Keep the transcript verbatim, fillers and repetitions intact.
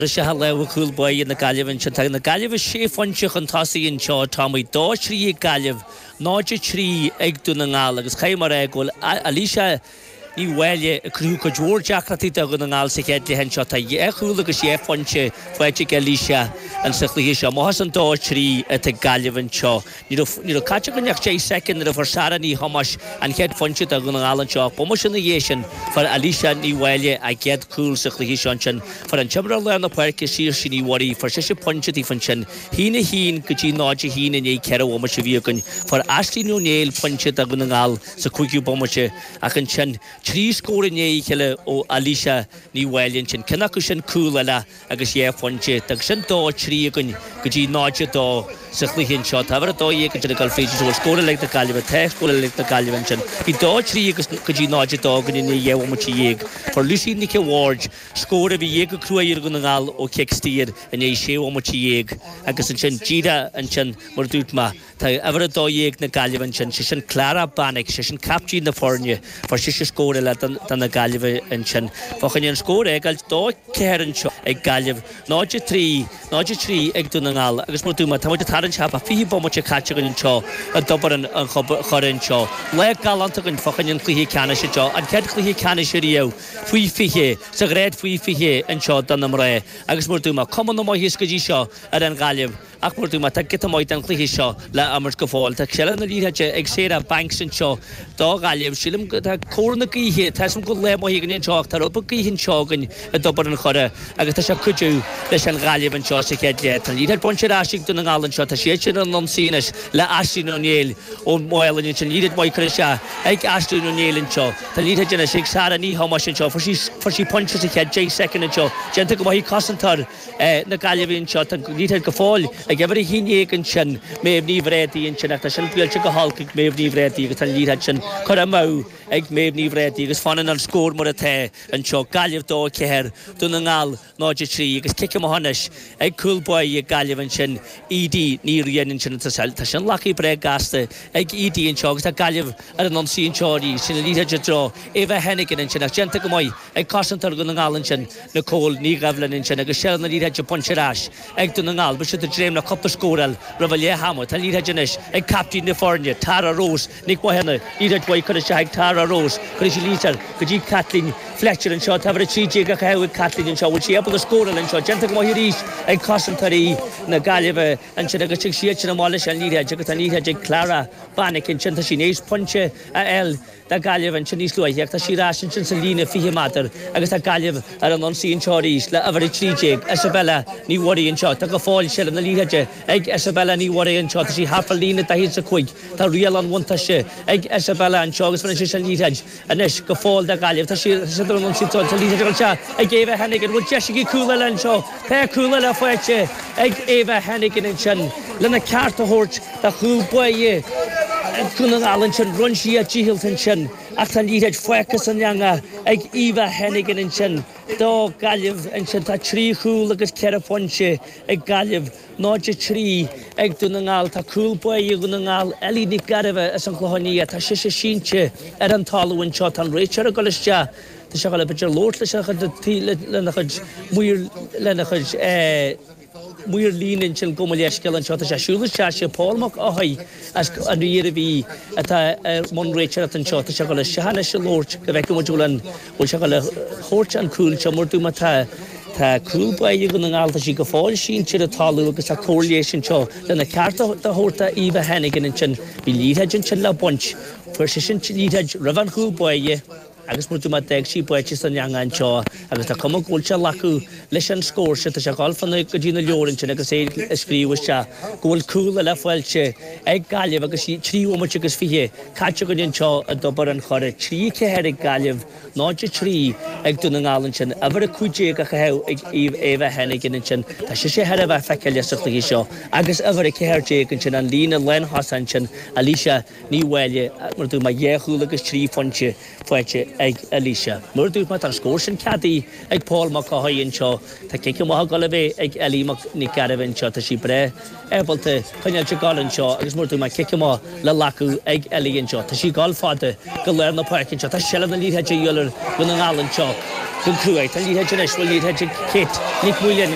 Briseadh lámha chúl báire na Gaillimhe ansin. Tá na Gaillimhe sé phointe chun tosaigh anseo. Táimid dó trí ag Gaillimh, náid a trí ag Dún na nGall agus caithfidh mé a rá go bhfuil Alicia Ní Mháille ag cruthú cuid mhór deacrachtaí do Dhún na nGall sa chéad leath anseo. Tá dhá chúl agus dhá phointe faighte ag Alicia sa chluiche seo. Amach as an dó trí atá ag Gaillimh anseo. Ní raibh ní raibh caite againn ach deich soicind nuair a fuair Sarah Ní Thomáis an chéad phointe do Dhún na nGall anseo ach bomaite ina dhiaidh sin fuair Alicia Ní Mháille a gcéad chúl sa chluiche seo ansin. Fuair an t-imreoir lár na páirce Saoirse Ní Mhuirí, fuair sise pointe daofa ansin. Haon a haon go dtí náid a haon i ndiaidh ceithre bhomaite a bhí againn. Fuair Aisling Ó Néill pointe do Dhún na nGall sa cúigiú bomaite ach ansin trí scór i ndiaidh a chéile ó Alicia Ní Mháille ansin. Ceann acu sin cúl eile agus dhá phointe. Agus sin dó a trí againn go dtí náid a dó sa chluiche anseo. Tá uimhir a dó dhéag ansin ag dul fríd is an bhfuil scór eile ag na Gaillimhe. Tá scór eile ag na Gaillimhe ansin. Bhí dó a trí agus go dtí náid a dó againn i ndiaidh dhá bhomaite dhéag. Fuair Lucy Nic a' Bhaird scór a bhí go cruaidh ar Dhún na nGall ó chic saor i ndiaidh sé bhomaite dhéag agus ansin díreach ansin mar a dúirt mé tá uimhir a dó dhéag na Gaillimhe ansin, sé sin Clara Bannick, sé sin captaen na foirne, fuair sise scór eile do na Gaillimhe ansin. Fá choinne an scór a fhágáil dó ceathair anseo ag Gaillimh, náid a trí, náid a trí ag Dún na nGall agus mar a dúirt mé, tá muid ag tarraingt thart fá fiche bomaite caite againn anseo i dTobar an Choire anseo. Lá galánta againn fá choinne an chluiche ceannais anseo, an chéad chluiche ceannais ariamh faoi fiche, sa ghrád faoi fiche anseo do na mná agus mar a dúirt mé, cuma na maitheas go dtí seo ar an Ghaillimh. Ach mar a dúirt mé, tá giota maith den chluiche seo le imirt go fóill. Tá seilbh na liathróide ag Sarah Banks anseo do Ghaillimh. Sílim go tá cóir na gaoithe, tá 'fhios a'm go bhfuil lá maith againn anseo ach tá rud beag gaoithe anseo againn i dTobar an Choire agus tá sé ag cuidiú leis an Ghaillimh anseo sa chéad leath. Tá an liathróid bainte ar ais ag Dún na nGall anseo. Tá siad sin ar an ionsaí anois le Aisling O'Neill ón Mhálainn ansin. Liathróid mhaith curtha isteach ag Aisling O'Neill anseo. Tá an liathróid anois ag Sarah Ní Thomáis anseo. Fuair sí fuair sí pointe sa chéad deich soicind anseo. Déanta go maith ag cosantóir na Gaillimhe anseo. Tá an liathróid go fóill ag uimhir a haon déag ansin, Méabh Ní Bhréadaí ansin ach tá sin buailte go holc ag Méabh Ní Bhréadaí agus tá an liathróid sin curtha amú ag Méabh Ní Bhréadaí agus fanann an scór mar atá anseo, Gaillimh dó a ceathair, Dún na nGall náid a trí agus cic amach anois ag cúl báire Gaillimh ansin, Edie Ní Riain ansin tá sin glactha breá gasta ag Edie anseo agus tá Gaillimh ar an ionsaí anseo arís, sin an liathróid i dtreo Eva Hennigan ansin ach déanta go maith ag cosantóir Dhún na nGall ansin, Nicole Ní Dhoibhlin ansin agus seilbh na liathróide bainte ar ais ag Dún na nGall. Beidh siad ag dréim le cúpla scóráil roimh leath ama. Tá an liathróid anois ag captaen na foirne, Tara Rose Nic Mhathúna. Liathróid mhaith curtha isteach ag Tara Rose. Cuirfidh sí liathróid go dtí Caitlín Fletcher anseo. Tá uimhir a trí déag á caitheamh ag Caitlín anseo. Bhfuil sí ábalta scóráil anseo? Déanta go maith arís ag cosantóirí na Gaillimhe ansin agus tig siad sin amach leis an liathróid agus tá an liathróid ag Clara Bannick ansin. Tá sí in éis pointe a fháil do Ghaillimh ansin níos luaithe ach tá sí ar ais ansin sa líne fiche méadar agus tá Gaillimh ar an ionsaí anseo arís le uimhir a trí déag, Isabella Ní Mhuirí anseo. Tá go fóill seilbh na liathróide ag Isabella Ní Mhuirí anseo. Tá sí thart fá líne daichead is a cúig. Tá riail an bhuntáiste ag Isabella anseo agus fanann sí an liathróid anois go fóill do Ghaillimh. Tá sí ar an ionsaí anseo. Tá liathróid ag dul isteach ag Eva Hennigan. Bhfuil deis aici cúl eile anseo? Tá cúl eile faighte ag Eva Hennigan ansin lena ceart a thabhairt do chúl báire Dhún na nGall ansin. Rinne sí a dícheall ansin ach tá an liathróid fágtha san eangach ag Eva Hennigan ansin do Ghaillimh ansin. Tá trí chúl agus ceithre phointe ag Gaillimh, náid a trí ag Dún na nGall. Tá cúl báire Dhún na nGall, Ellie Nic Gairbheith as an Chlochán Liath, tá sise sínte ar an talamh anseo. Tá an réiteoir ag dul isteach. Tá sé ag dul b'fhéidir labhairt leis a chuid lena chuid maor lena chuid maor líne ansin gabh mo leithscéal anseo. Tá sé ag siúl isteach, sé Paul Mac Eochaidh as an Iarmhí atá i mbun réiteoireachta anseo. Tá sé ag dul isteach anois ag labhairt go bhfeicfidh muid bhfuil an bhfuil sé ag dul a thabhairt an cúl seo mar dúirt mé tá tá cúl báire Dhún na nGall tá sí go fóill sínte ar an talamh agus tá cóir leighis anseo lena ceart a thabhairt do Eva Hennigan ansin. Bhí liathróid ansin le baint. Fuair sise an liathróid roimh an chúl báire. Agus mar dúirt mé, d'fhág sí báite san eangach anseo agus tá cuma go bhfuil sé ag glacadh leis an scór seo. Tá sé ag dul fá na, go dtí na leabhair ansin agus é ag scríobh isteach go bhfuil cúl eile faighte ag Gaillimh agus trí bhomaite agus fiche caite againn anseo i dTobar an Choire. Trí a ceathair ag Gaillimh, náid a trí ag Dún na nGall ansin. Uimhir a cúig déag á chaitheamh ag Eva Hennigan ansin. Tá sise thar a bheith feiceálach sa chluiche seo agus uimhir a ceathair déag ansin, an líne lánthosach ansin, Alicia Ní Mháille, mar a dúirt mé, dhá chúl agus trí phointe faighte ag Alicia. Mar a dúirt mé, tá an scór sin ceadaithe ag Paul Mac Eochaidh anseo. Tá cic amach ag dul a bheith ag Ellie Nic Gairbheith anseo. Tá sí breá ábalta coinneáil ag dul anseo agus mar a dúirt mé, cic amach le glacadh ag Ellie anseo. Tá sí ag dul fada go lár na páirce anseo. Tá seilbh na liathróide ar Dhún na nGall anseo. Go cruaidh, tá liathróid anois, bhfuil liathróid ag Kate Nic Mhaoileann.